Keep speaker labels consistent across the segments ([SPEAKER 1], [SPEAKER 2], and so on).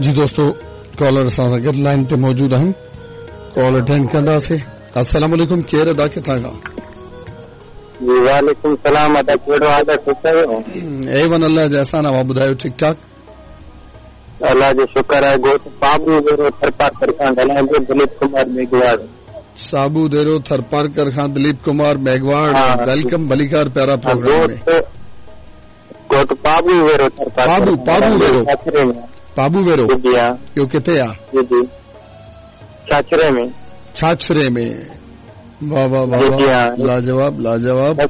[SPEAKER 1] जी दोस्तों, कॉलर असां सां गॾु लाइन ते मौजूद आहिनि, कॉल अटेंड कंदासीं। अस्सलाम वालेकुम, केरु अदा, किथां खां?
[SPEAKER 2] जी वालेकुम सलाम अदा, कहिड़ो हाल आहे, ठीकु आहियो?
[SPEAKER 1] ए वन, अल्लाह जा एहसान आहे, ॿुधायो, ठीकु ठाक?
[SPEAKER 2] अल्लाह जो शुक्र आहे। ॻोठ साबू देरो थरपारकर खां ॻाल्हायां पियो, दिलीप कुमार मेघवाड़।
[SPEAKER 1] साबू देरो थरपारकर खां दिलीप कुमार मेघवाड़, welcome, भलीकार प्यारा प्रोग्राम में।
[SPEAKER 2] ॻोठ पाबू वेरो
[SPEAKER 1] थरपारकर। पाबू वेरो, पाबू वेरो, इहो किथे आहे?
[SPEAKER 2] जी जी, छाछरे में।
[SPEAKER 1] छाछरे में, वाह वाह वाह वाह, लाजवाब लाजवाब।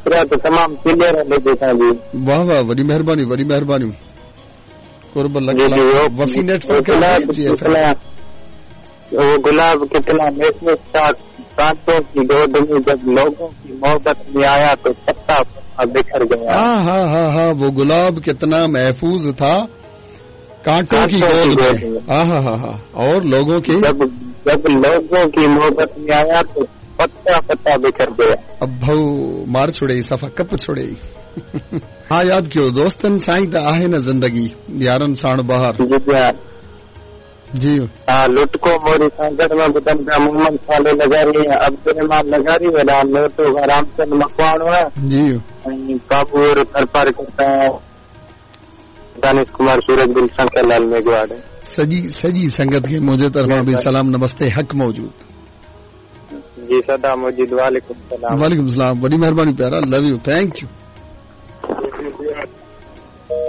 [SPEAKER 2] तमाम क्लियर आहे।
[SPEAKER 1] वाह वाह, वॾी महिरबानी, वॾी महिरबानी, कुर्ब लख। वसी नेटवर्क।
[SPEAKER 2] वो गुलाब कितना महफूज था कांटों की गोद में, जब लोगों की मोहब्बत में आया तो पत्ता पत्ता बिखर गया।
[SPEAKER 1] हाँ हाँ हाँ हाँ, वो गुलाब कितना महफूज था कांटों की गोद में, हाँ हाँ हाँ हाँ, और लोगों की
[SPEAKER 2] जब लोगों की मोहब्बत में आया तो पत्ता पत्ता बिखर गया।
[SPEAKER 1] अब भाऊ मार छोड़े, सफ़ा कप छोड़े। हाँ, यादि कयो दोस्तनि सां ई त आहे न ज़िंदगी, यारनि साण बहार। जी
[SPEAKER 2] हा, लुटको मोरी सांगड़ में ॿुधनि पिया, मोहम्मद साले लगारी, अब्दुल लगारी, वॾा नोटो रामचंद मकवाणो
[SPEAKER 1] जी,
[SPEAKER 2] ऐं बाबू थरपारकर दानिश कुमार सूरज बिल शंकर लाल मेघवाड़।
[SPEAKER 1] सॼी सॼी संगत खे मुंहिंजे तरफ़ां बि सलाम, नमस्ते, हक़ मौजूद।
[SPEAKER 2] जी सदा मौजूद, वालेकुम सलाम।
[SPEAKER 1] वालेकुम सलाम, वॾी महिरबानी प्यारा, लव you, thank you.